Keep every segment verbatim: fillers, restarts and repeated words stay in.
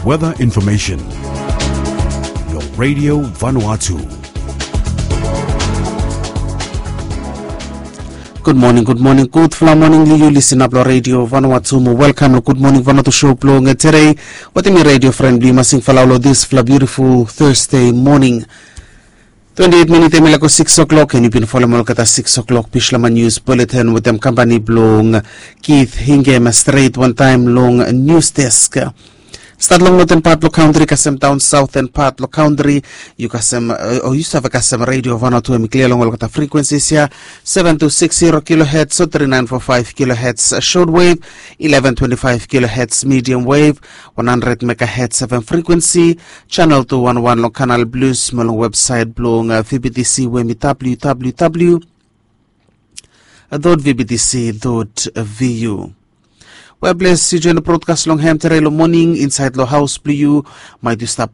Weather information. Lo Radio Vanuatu. Gud moning, gud moning, gudfala moning long yu lisin ap long Radio Vanuatu mo welkam long Gud Moning Vanuatu show blong tere. Wetem mi radio fren blong yu Masing Falau long disfala biutiful Thursday moning. Twenti eit minit em i laik go sikis o'clock, and yu bin folem olgeta sikis o'clock Bislama News Bulletin wetem kampani blong Keith Hingem stret wantaem long News Desk. Stat long noten pat blong kantri kasem daon saoten pat blong kantri, yu kasem o yu save kasem Radio Vanuatu em i klia long olgeta frikwensis ya, seven two six zero kilohertz o three nine four five kilohertz short wave, eleven twenty five kilohertz medium wave, one hundred megahertz seven frikwensi, channel two one one long Kanal Plus mo long websaet blong V B T C we em i W W W dot V B T C dot V U. Weples yu joen brodkas long hem tere long moning insaet long haos blong yu, maet yu stap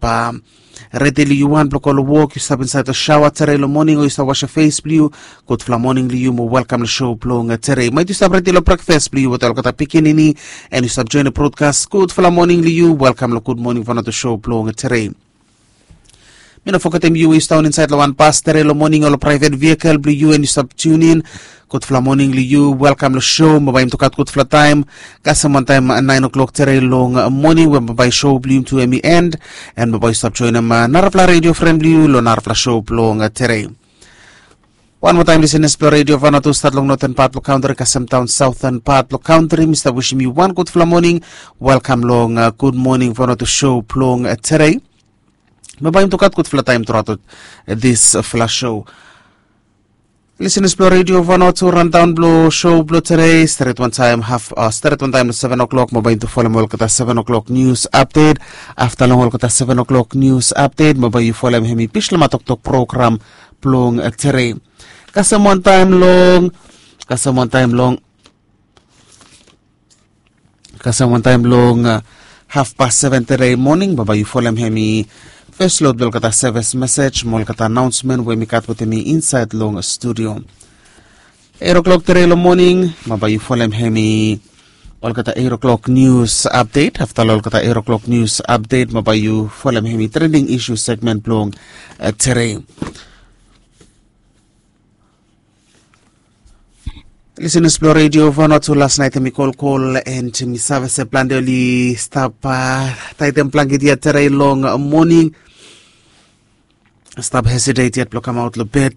redi long yu wan blong go long wok, yu stap insaet long saoa tere long moning o yu stap wasem fes blong yu, gudfala moning long yu mo welkam long show blong tere. Maet yu stap redi long brekfas blong yu wetem olgeta pikinini, and yu stap joen brodkas, gudfala moning long yu, welkam long Gud Moning Vanuatu show blong tere. Mi no fogetem yu we yu stap daon insaet long wan bas tere long moning o long praevet vikel blong yu, and yu stap tiunin, gudfala moning long yu, welkam long show. Mo bae yum tu gat gudfala taem, kasem wantaem naen o'clock tere long moning we bae show blong yum tu em i end, and mo bae yu stap joenem narafala radio fren blong yu long narafala show blong tere. Wan moa taem, lisenas blong Radio Vanuatu, stat long noten pat blong kantri kasem daon saoten pat blong kantri, mi stap wisim yu wan gudfala moning. Welkam long Gud Moning Vanuatu show blong tere. Mo bae yum tu gat gudfala taem truaot disfala show. Lisenas blong Radio Vanuatu, randaon blong show blong tere, stret wantaem haf, stret wantaem long seven o'clock mo bae yum tu folem olgeta seven o'clock news update. Afta long olgeta seven o'clock news update mo bae yu folem hem i Bislama Toktok program blong tere. Kasem wantaem long, kasem wantaem long, kasem wantaem long hafpas seven tere moning mo bae yu folem hem i fes lod blong olgeta sevis mesej mo olgeta anaonsmen we mi gat wetem mi insaet long studio. Eit o'clock tere long moning mo bae yu folem hem i olgeta eit o'clock news update. Afta long olgeta eit o'clock news update mo bae yu folem hem i trending issue segment blong tere. Lisenas blong Radio Vanuatu, las naet hem i kolkol, and mi save se plante oli stap taetem blanket ya tere long moning. Stap hesitet yet blong kamaot long bed.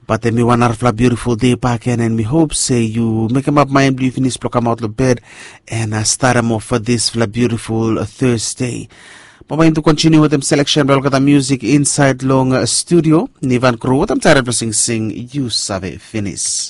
Bat em i wan narafala biutiful dei bakegen, and mi hop se yu mekemap maen blong yu finis blong kamaot long bed and statem of disfala biutiful Thursday. Mo bae yum tu kontiniu wetem seleksen blong olgeta musik insaet long studio. Nivan Kru wetem taet blong singsing Yu Save Finis.